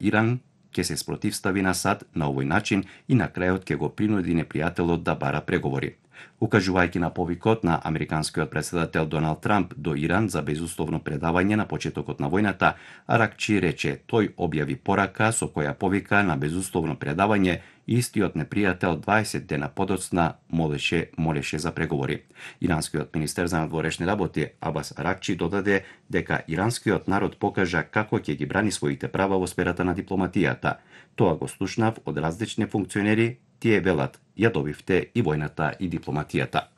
Иран ќе се спротивстави на САД на овој начин и на крајот ќе го принуди непријателот да бара преговори. Укажувајќи на повикот на американскиот председател Доналд Трамп до Иран за безусловно предавање на почетокот на војната, Аракчи рече тој објави порака со која повика на безусловно предавање и истиот непријател 20 дена подоцна молеше за преговори. Иранскиот министер за надворешни работи Абас Аракчи додаде дека иранскиот народ покажа како ќе ги брани своите права во сферата на дипломатијата. Тоа го слушнав од различни функционери, тие велат, ја добивте и војната и дипломатијата.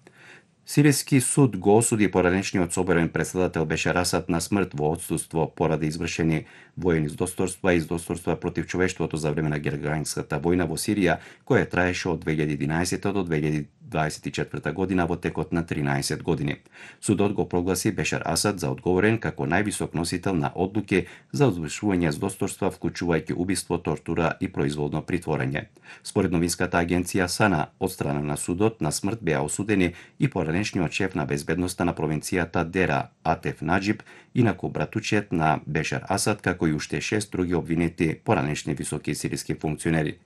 Сиријски суд го осуди поранешниот соборен председател Бешар Асад на смрт во отсуство поради извршени воени издосторства и издосторства против човештвото за време на герганската војна во Сирија, која траеше од 2011 до 2024 година во текот на 13 години. Судот го прогласи Бешар Асад за одговорен како највисок носител на одлуки за извршување издосторства, вклучувајќи убиство, тортура и произволно притворање. Според новинската агенција САНА, од страна на судот на смрт беа осудени и поранешниот шеф на безбедноста на провинцијата Дера Атеф Наџиб, инаку братучет на Бешар Асад, како и уште 6 други обвинети поранешни високи сириски функционери.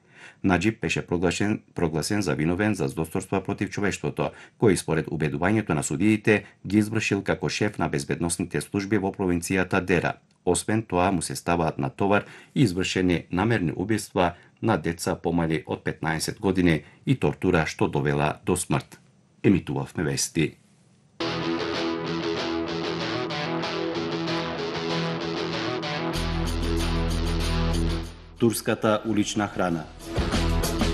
Наџиб беше прогласен за виновен за издосторства против човештвото, кој според убедувањето на судиите ги извршил како шеф на безбедносните служби во провинцијата Дера. Освен тоа му се ставаат на товар и извршени намерни убиства на деца помали од 15 години и тортура што довела до смрт. Емитувавме вести. Турската улична храна.